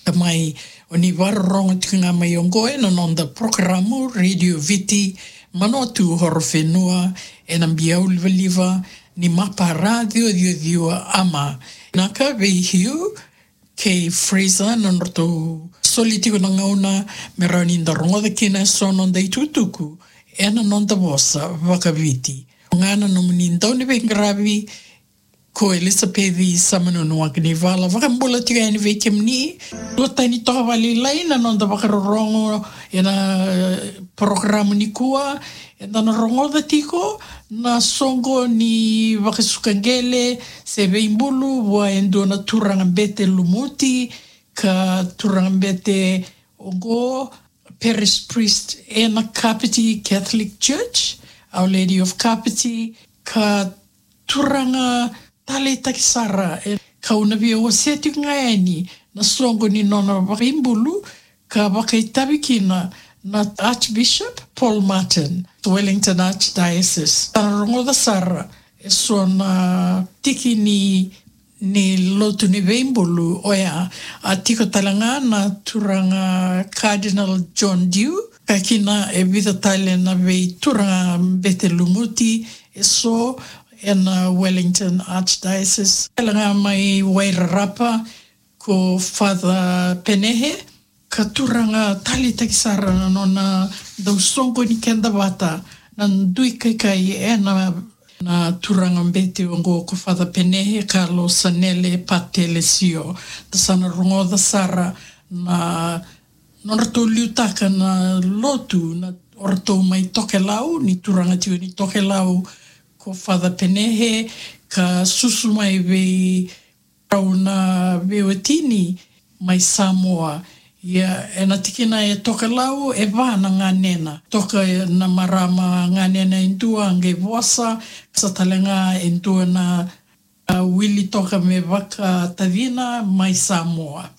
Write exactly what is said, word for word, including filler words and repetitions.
Tamai, o ni vakarorogo tiko ga mai oqo ena noda porokaramu Radio Viti, Manawatu Horowhenua, ena biau livaliva ni Mapa Radio Ciwa Ciwa Ama. Naka vei Hugh kei Fraser na nodratou soli tiko na gauna me rawa ni da rogoca kina eso na noda itukutuku ena noda vosa vakaViti. Ga na nomuni dauniveiqaravi ko Elisapeci Samanunu Wakinivala, vakabula tiko yani vei kemuni. Dua tani toka vakalailai na noda vakarorogo ena porokaramu nikua, eda na rogoca tiko na soqo ni vakasuka qele se veibulu vua e dua na turaga bete lumuti, ka turaga bete oqo, parish priest ena Kapiti Catholic Church, Our Lady of Kapiti, ka turaga taleitaki sara, e, kau na via wasea tiko ga yani na soqo ni nona vakaibulu ka vakaitavi kina na Archbishop Paul Martin, Wellington Archdiocese. Sa na rogoca sara eso na tiki ni, ni lotu ni veibulu oya, a tiko tale ga na turaga Cardinal John Dew, ka kina e vica tale na veituraga bete lumuti eso ena Wellington Archdiocese. Tale ga mai Wairarapa ko Father Penehe, ka turaga taleitaki sara na nona dau soqoni keda vata na dui kaikai ena, na turaga bete oqo ko Father Penehe Kalo Sanele Patelesio. Da sa na rogoca sara na nodratou liutaka na lotu na oratou mai Tokelau, ni turaga tiko ni Tokelau ko Father Penehe, ka susu mai vei rau na veiwatini mai Samoa. Ia, ena tikina e Tokelau, e va na ganena. Toka na marama ganena e dua qai vosa, sa tale ga e dua na, a, wili toka me vakatacina mai Samoa.